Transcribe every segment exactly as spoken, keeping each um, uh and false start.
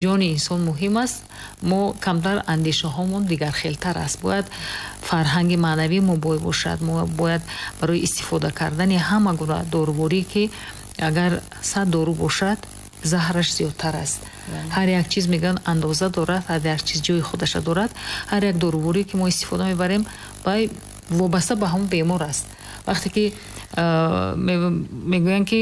Ҷони инсон муҳим аст, мо камтар андешаҳомон дигархелтар аст. Бояд фарҳанги маънавии мо бой бошад. Мо бояд барои истифода кардани ҳама гуна доруворӣ, ки агар сад дору бошад, заҳраш зиёдтар аст. Ҳар як чиз, мегӯянд, андоза дорад, ҳар як чиз ҷои худаша дорад. Ҳар як доруворӣ, ки мо истифода мебарем, вай вобаста ба ҳамон бемор аст. Вақте ки мегӯянд, ки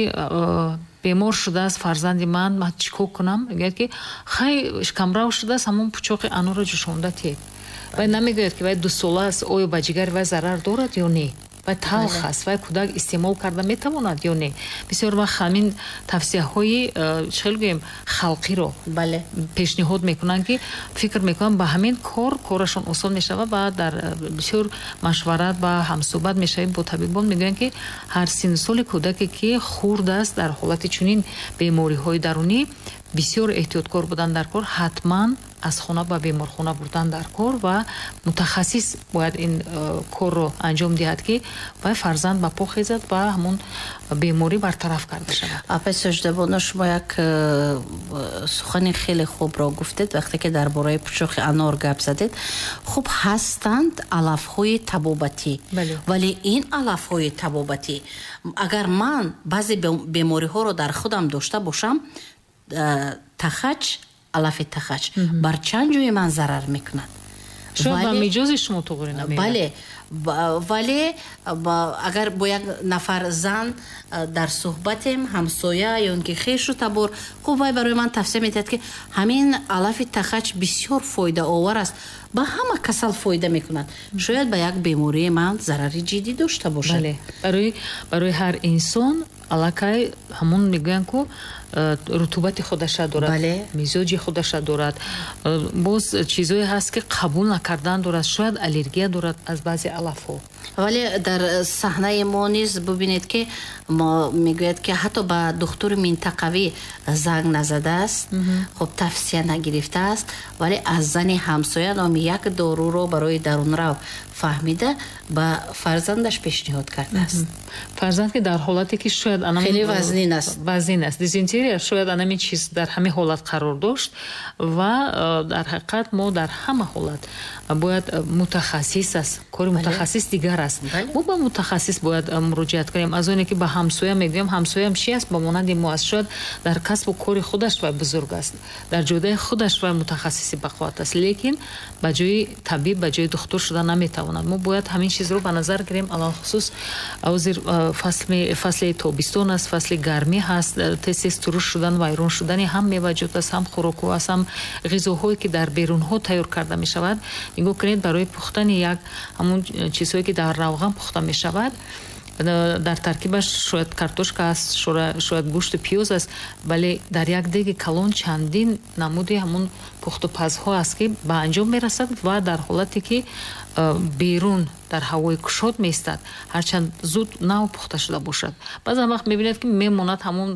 бемор шудааст фарзанди ман, ман чӣ кор кунам? Мегӯяд, ки хай, камрав шудааст, ҳамон пучоқи анорро ҷӯшонда тед. Вай намегӯяд, ки вай дусола аст, оё ба ҷигари вай зарар дорад ё не, вай талх аст, вай кӯдак истеъмол карда метавонад ё не. Бисёр вақт ҳамин тавсияҳои, э, чӣ хел гӯем, халқиро бале пешниҳод мекунанд, ки фикр мекунанд, ба ҳамин кор корашон осон мешавад. Ва дар э, бисёр машварат ва ҳамсӯҳбат мешавем бо табибон, мегӯянд, ки ҳар синну соли кӯдаке, ки хурд аст, дар ҳолати чунин бемориҳои дарунӣ бисёр эҳтиёткор будан дар кор, ҳатман аз хона ба беморхона бурдан дар кор ва мутахассис бояд ин э, корро анҷом диҳад, ки вай фарзанд ба по хезад ва ҳамон беморӣ бартараф карда шавад. Апаи Соҷидабоно, шумо як э, сухани хеле хубро гуфтед, вақте ки дар бораи пучоқи анор гап задед. Хуб, ҳастанд алафҳои табобатӣ, вале ин алафҳои табобатӣ, агар ман баъзе бемориҳоро дар худам дошта бошам, э, тахач, алафи тахач бар чанд ҷои ман зарар мекунад. Шояд ба миҷози шумо туғри намеяд. Бале, вале агар бо як нафар зан дар суҳбатем, ҳамсоя ё ин ки хешу табор, хуб, вай барои ман тавсия медиҳад, ки ҳамин алафи тахач бисёр фоидаовар аст, ба ҳама касал фоида мекунад, шояд ба як бемории ман зарари ҷиддӣ дошта бошад. Барои барои ҳар инсон аллакай ҳамон, мегӯянд ку, э, рутубати худаша дорад, мизоҷи худаша дорад. э, боз чизое ҳаст, ки қабул накардан дорад, шояд аллергия дорад аз баъзе алафҳо. Вале дар саҳнаи мо низ бубинед, ки мо мегӯяд, ки ҳатто ба духтури минтақавӣ занг назадааст, хуб, тавсия нагирифтааст, вале аз зани ҳамсоя номи як доруро барои дарунрав фаҳмида, ба фарзандаш пешниҳод кардааст. Фарзанд, ки дар ҳолате, ки шояд хеле вазнин аст. Вазнин аст, дизентерия, шояд анамин чиз дар ҳамин ҳолат қарор дошт. Ва э, дар ҳақиқат мо дар ҳама ҳолат бояд, э, мутахассис аст, кори мутахассис дигар аст, мо ба мутахассис бояд э, муроҷиат кунем. Аз оне ки ба ҳамсоя мегӯем, ҳамсоям чи аст, ба монанди мо аст, шояд дар касбу кори худаш вай бузург аст, дар ҷодаи худаш вай мутахассиси бақувват аст, лекин ба ҷои табиб, ба ҷои духтур шуда наметавонад. Мо бояд ҳамин чизро ба назар гирем. Алалхусус ҳозир фасли тобистон аст, фасли гармӣ ҳаст, тез тез туруш шудан, вайрон шудани ҳам меваҷот аст, ҳам хӯрокҳо аст, ҳам ғизоҳое, ки дар берунҳо тайёр карда мешавад. Нигоҳ кунед, барои пухтани як ҳамон чизҳое, ки дар равған пухта мешавад, дар таркибаш шояд картошка аст, шояд гӯшту пиёз аст, вале дар як деги калон чандин намуди ҳамон пухтупазҳо аст, ки ба анҷом мерасад. Ва дар ҳолате ки берун дар ҳавои кушод меистад, ҳарчанд зуд нав пухта шуда бошад, баъзан вақт мебинед, ки мемонад, ҳамон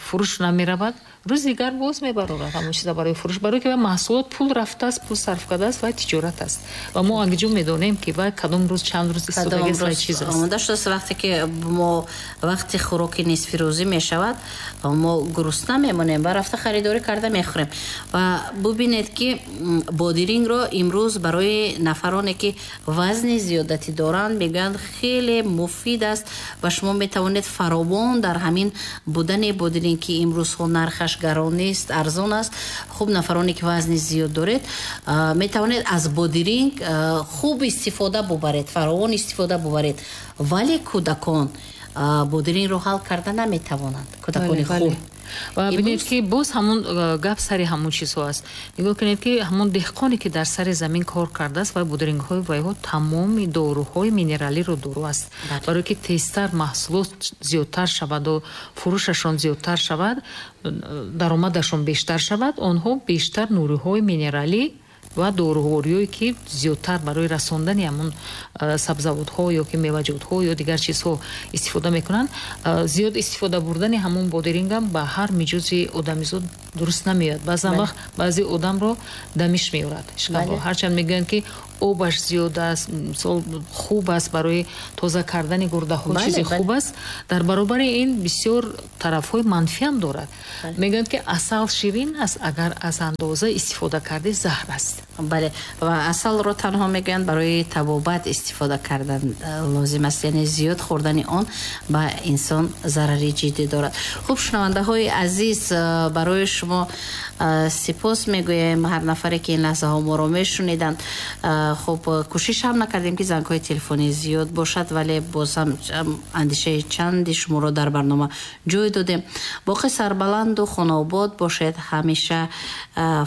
фурӯш намеравад, рӯзи дигар боз мебарорад ҳамон чиза барои фурӯш, барое ки маҳсулот пул рафтааст, пул сарф кардааст ва тиҷорат аст. Ва мо агиҷо медонем, ки вай кадом рӯз, чанд рӯз истодагист ва чиз аст. Омода шудааст. Вақте ки мо вақти хӯроки нисфирӯзӣ мешавад, мо гурусна мемонем ва рафта харидорӣ карда мехӯрем. Ва бубинед, ки бодирингро имрӯз барои нафароне, ки вазни зиёдатӣ доранд, мегӯянд, хеле муфид аст ва шумо метавонед фаровон дар ҳамин будани бодиринг, ки имрӯзҳо нархаш гарон нест, арзон аст. Хуб, нафароне, ки вазни зиёд доред, метавонед аз бодиринг хуб истифода бубаред, фаровон истифода бубаред. Вале кӯдакон бодирингро ҳал карда наметавонанд, кӯдакони хурд. Ва бинед, ки боз ҳамон э, гап сари ҳамон чизҳо аст. Нигоҳ кунед, ки ҳамон деҳқоне, ки дар сари замин кор кардааст, вай бодирингҳои вайҳо тамоми доруҳои минералиро дору аст. Барое ки тезтар маҳсулот зиёдтар шаваду фурӯшашон зиёдтар шавад, даромадашон бештар шавад, онҳо бештар нуриҳои минералӣ ва дорувориҳое ки зиёдтар барои расондани ҳамун сабзавотҳо ё ки меваҷотҳо ё дигар чизҳо истифода мекунанд, зиёд истифода бурдани ҳамун бодирингам ба ҳар миҷози одамизод дуруст намеояд. Баъзан вақт баъзе одамро дамиш меорад шикамро. Ҳарчанд мегӯянд ки обаш зиёд аст, мисол хуб аст барои тоза кардани гурдаҳо, чизи хуб аст, дар баробари ин бисёр тарафҳои манфиам дорад. Мегӯянд ки асал ширин аст, агар аз андоза истифода карди заҳр аст. Бале, ва асалро танҳо мегӯянд барои табобат истифода кардан лозим аст, яъне зиёд хӯрдани он ба инсон зарари ҷиддӣ дорад. Хуб, шунавандаҳои азиз, барои шумо сипос мегӯем. Ҳар нафаре ки ин лаҳзаҳо моро мешуниданд, хуб, кӯшиш ҳам накардем ки зангҳои телефонӣ зиёд бошад, вале боз ҳам андешаи чанди шуморо дар барнома ҷой додем. Боқӣ сарбаланду хонаобод бошед, ҳамеша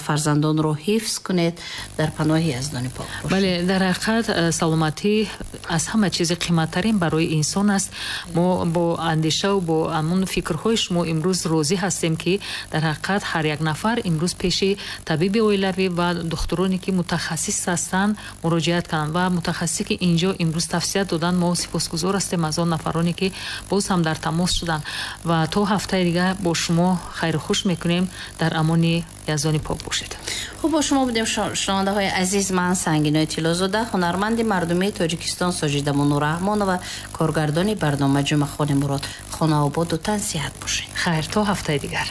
фарзандонро ҳифз кунед, дар паноҳи Яздони пок бошед. Бале, дар ҳақиқат саломатӣ аз ҳама чизи қиматтарин барои инсон аст. Мо бо андешаву бо ҳамун фикрҳои шумо имрӯз розӣ ҳастем ки дар ҳақиқат ҳар як нафар имрӯз пеши табиби оилавӣ ва духтуроне ки мутахассис ҳастанд муроҷиат кунанд ва мутахассисе ки инҷо имрӯз тавсия доданд, мо сипосгузор ҳастем аз он нафароне ки боз ҳам дар тамос шуданд ва то ҳафтаи дигар бо шумо хайру хуш мекунем. Дар амони Яздони пок бошед. Хуб, бо шумо будем шунавандаҳои азиз. Ман Сангинои Тиллозода, ҳунарманди мардумии Тоҷикистон Соҷида Мунурраҳмонова, коргардони барнома Ҷумъахони Мурод. Хонаободу тансиҳат бошед. Хайр, то ҳафтаи дигар.